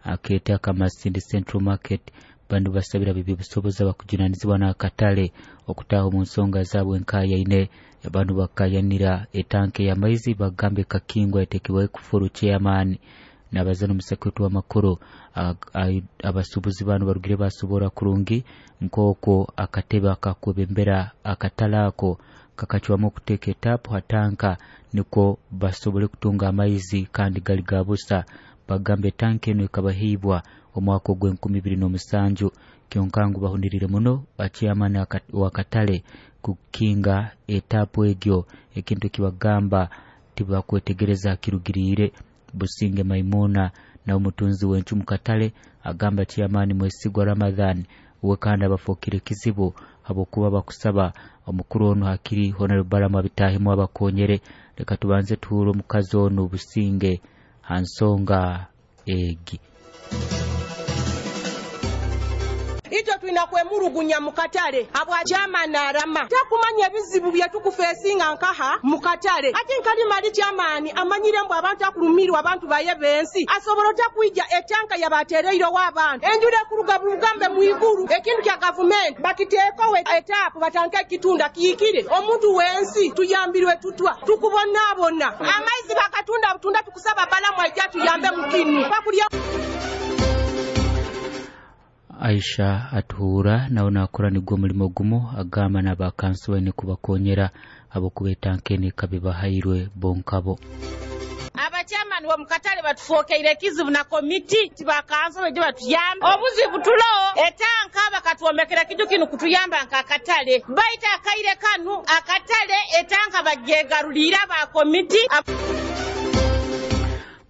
akete aka Masindi Central Market. Banu basabira bibi busoboza bakujunanizibwa n'akatale okutaaha omu nsonga zaabwe nkayaine. Banu bakayanira etanke y'amaizi bagambe kakingwa etekebwaho ekufuru chairman nabazana omusekwetu w'amakuru. Abasuubuzi banu barugire basobora kurungi nk'okwo akatebe akakwebembera akatale ako kakacwamu okuteeka etapu ha tanka nikwo basobole kutunga amaizi kandi gali ga busa. Bagamba etanka eno ekabaheibwa omwaka ogw'2007. Kyonka ngu bahunirire muno chairman w'akatale kukinga etapu egyo, ekintu ekibagamba tibakwetegereza kirugiriire. Businge Maimuna na omutunzi w'encu mu katale agamba chairman Mwesigwa Ramadhan we kandi abafookire kizibu habwokuba bakusaba omukuru ono hakiri Honorable Balamu abitaahemu abakonyere. Leka tubanze tuhure omukazi ono Businge ha nsonga egi. Itwe twina kwemurugunya mu katale habwa chairman arama takumanya ebizibu byetukufesinga nkaha mu katale. Ati nkalima ali chairman amanyire mbu abantu akulumirwa abantu baye bensi asobola otakwija etanka yabatereirewo abantu enjura ekuruga burugambe mwiguru ekintu kya gavumenti bakiteekowo etapu batanke ekitunda kiikire omuntu wensi tuyambirwe tutwa tukubonaabona amaizi bakatunda butunda tukusaba Balamu aija tuyambe mukinu bakulya. Aisha atuhura nawe nakora nigwo mulimo gumu agamba n'abakansi baine kubakonyera habwokuba etanka eno ekaba ebahairwe bonkabo. Abachairman bo mukatale batufokeire ekizibu na komiti tibakanso beje batuyamba obuzibu tulo etanka bakatwomekera kiju kinu kutuyamba nka akatale baita akaire kanu akatale etanka bajegarulira ba komiti.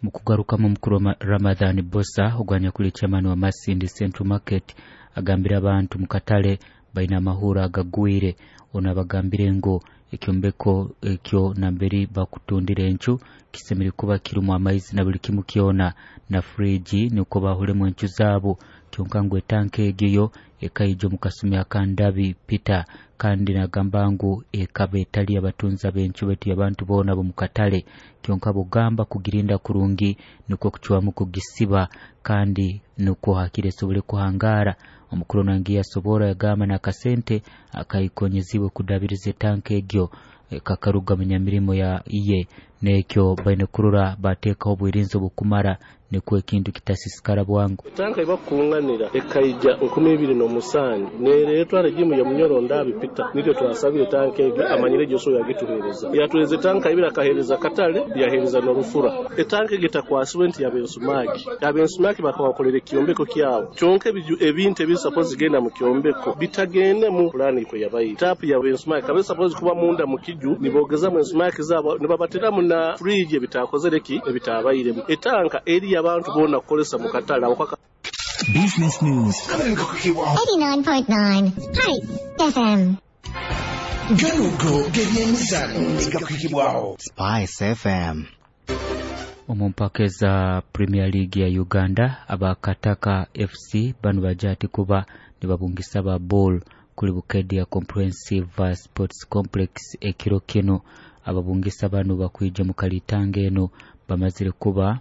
Mukugarukamu mukuru Ramadhan Bosa ogwanya kuli chairman wa Masindi Central Market agambira abantu mukatale baina amahura agagwire. Ono abagambire ngo ekyombeko ekyo namberi bakutundira encu kisemere kuba kirumu amaizi na buli kimu kyona na friji niko bahulemu encu zaabo. Kyonka ngu etanka egyo ekaijo mukasumi akandabi Peter kandi nagamba ngu ekaba etali abatunza b'encu betu abantu boona bomukatale. Kyonka bugamba kugirinda kurungi niko kucwamu kugisiba kandi niko hakire sobole kuhangara. Omukuru nangi yasobora yagamba n'akasente akayikonyezibwe kudabiriza etanka egyo kakaruga mu nyamirimo ya iye nekyo baine kurura bateekaho obwirinzi obukumara nikwo ekintu kitasisikara bwangu. Etanka ibakunganira ekaija 2007 neretwa regimu ya Munyoro Ndabi Peter niryo twasabire etanka egyo amanyire gyo so yagituhereza yatuhereza etanka ibira akahereza katale yahereza n'orufura. Etanka egyo takwasiwe nti yabensumaki abensumaki bakabakolera ekyombeko kyabo kyonka ebintu ebisapozi genda mu kyombeko bitagende mu plani kwe yabayi tapu yabensumaki kabe suppose kuba munda mu kiju nibogeza mu ensumaki zabo nibabateramu na fridge ebitakozereki ebitabayiremu etanka eri abantu bona kukolesa mu katale. Business News 89.9 Spice FM. Ganugo gebyemizano negakukibwaho Spice FM. Omu mpaka za Premier League ya Uganda abakataka FC banu bajati kuba nibabungisa ba ball kuli Bukedia Comprehensive Sports Complex ekiro kino. Ababungisa banu bakwija mu kalitanga eno bamazire kuba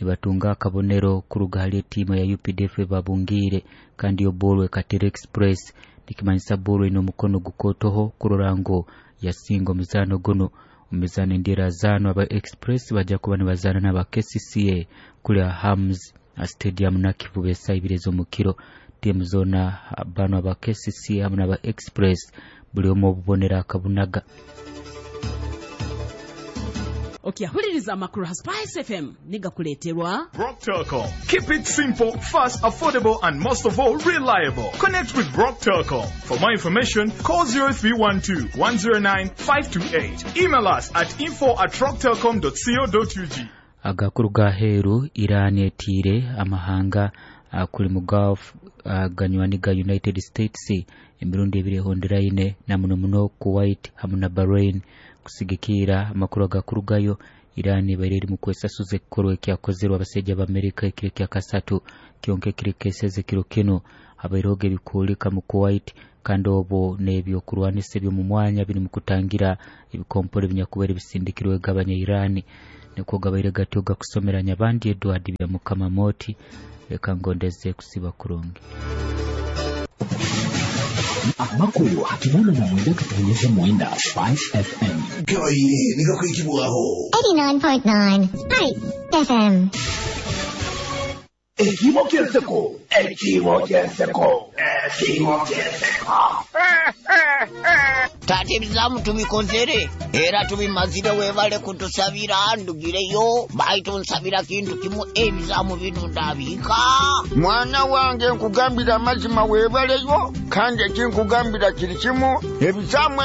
nibatunga akabonero kuruga hali etiima ya UPDF babungire kandi yo ball ekatere Express nikimanyisa ball ino mukono gukotoho kurora ngo yasinga omuzano guno. Omuzano endira zano aba Express bajja kuba nibazana n'aba KCCA kuli Hams Stadium Nakivubo esaa ibiri ez'omukiro. Tiimu zona bano aba KCCA hamwe n'aba Express buli omu obubonero akabunaga. Okyahuliriza amakuru ha Spice FM nigakuleeterwa Rock Telcom. Keep it simple, fast, affordable and most of all reliable. Connect with Rock Telcom. For more information, call 0312 109 528. Email us at info@rocktelcom.co.ug. Agakuru ga heru Iran etiire amahanga kuli mu Gulf ganywani ga United States emirundi ebiri ehonderaine na muno muno Kuwait hamwe na Bahrain. Kusigikira amakuru agakurugayo Iran ibaire eri mu kwesasuza ekikorwa ekyakozerwe abasajja b'Amerika ekiro kya kasatu kyonka ekiro keseze kiro kino habairehoga ebikuulika mu Kuwait kandi obwo n'ebyokurwanisa eby'omu mwanya biri mu kutangira ebikompore ebinyakubaire bisindikirwe gabanya Iran. Nikwo gabaire gatyo gakusomera Nyabandi Edward Byamukama Moti, leka ngondeze kusiba kurungi. Amakuru 89.9 Spice FM. Gabaire nigakwikibwaho. 89.9 Spice FM. Ekimo ky'enseko. Ekimo ky'enseko. Ekimo ky'enseko. Taata, ebizaamu tubikozere era tubimazire. Weebale kutusabira. Ndugireyo, baitu nsabira kintu kimu, ebizaamu bino ndabiika. Mwana wange, nkugambira amazima, weebaleyo, kandi ekinkugambira kiri kimu, ebizaamu.